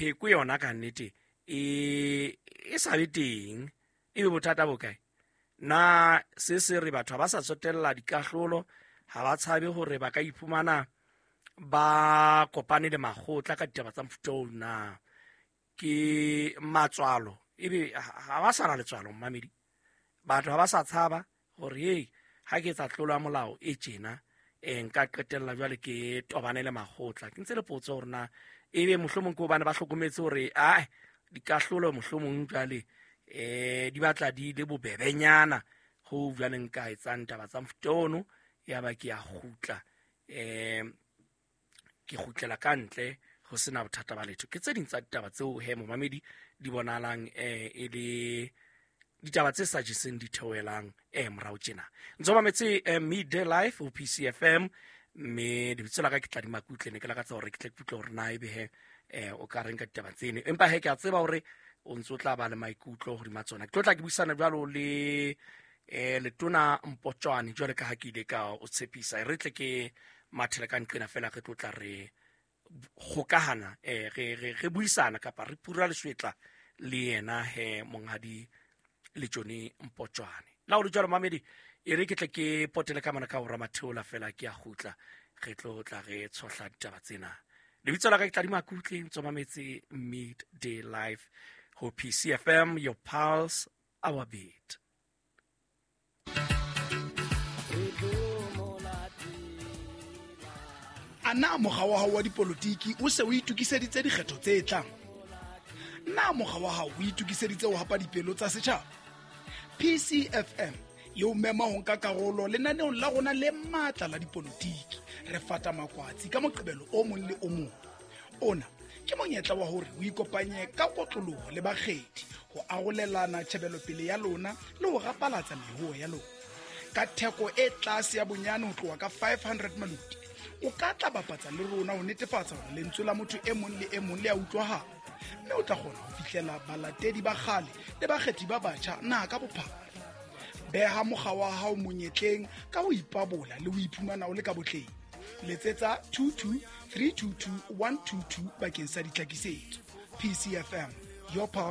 Pheko yona ka nnete e sa be teng, e be bothata bo kae? Na se se re batho ha ba sa tsotella dikahlolo, ha ba tshabe hore ba ka iphumana ba kopane le makgotla ka ditaba tsa mofuta oo? Na ke matswalo? Ebe ha ba sa na letswalo, mmamedi? Batho ha ba sa tshaba gore hei, ha ke etsa tlolo ya molao e tjena, nka qetella jwale ke tobane le makgotla. Ke ntse le potso gore na ebe mohlomong ke hobane ba hlokometse hore ae, dikahlolo mohlomong jwale di batla di le bobebenyana ho jwale nka etsang taba tsa mofuta ono, ya ba ke a kgutla, ke kgutlela ka ntle ho sena bothata ba letho. Ke tse ding tsa ditaba tseo he, momamedi, di bonahalang e le ditaba tse sa jeseng di theohelang morao tjena. Ntse o mametse Midday Life ho PCFM, mme lebitso la ka ke Tladi Makutle. Ne ke lakatsa hore ke tle ke utlwe hore na ebe he o ka reng ka ditaba tsene, empa he ke a tseba hore o ntse o tla ba le maikutlo hodima tsona. Ke tlo tla ke buisana jwalo le letona Mpotjoane, jwale ka ha ke ile ka o tshepisa. E re tle ke mathele ka nqena fela, re tlo tla re kgokahana, re buisana kapa re pura leswetla le yena he, monghadi Letšone Mpotjoane. La o le jwalo, mamedi, e re ke tle ke potele ka mona ka hora matheola fela, ke a kgutla, re tlo tla re tshohla ditaba tsena. Lebitso la ka ke Tladi Makutle, ntso mametse Midday Life ho PCFM, your pulse, our beat. A na mokga wa hao wa dipolotiki o se o itokiseditse dikgetho tse tlang? Na mokga wa hao o itokiseditse ho hapa dipelo tsa setjhaba? PCFM e o mema ho nka karolo lenaneong la rona le matla la dipolotiki, Re Fata Makwatsi, ka Moqebelo o mong le o mong. Ona ke monyetla wa hore o ikopanye ka kotloloho le bakgethi ho arolelana tjhebelopele ya lona le ho rapalatsa mehoo ya lona. Ka theko e tlase ya bonyane ho tloha ka 500 maluti, o ka tla bapatsa le rona ho netefatsa hore lentswe la motho e mong le e mong le a utlwahala, mme o tla kgona ho fihlela balatedi ba kgale le bakgethi ba batjha naha ka bophara. Beha mokga wa hao monyetleng ka ho ipabola le ho iphumana o le ka botleng. Letsetsa 22 322 122 bakeng sa ditlhakisetso. PCFM, your power.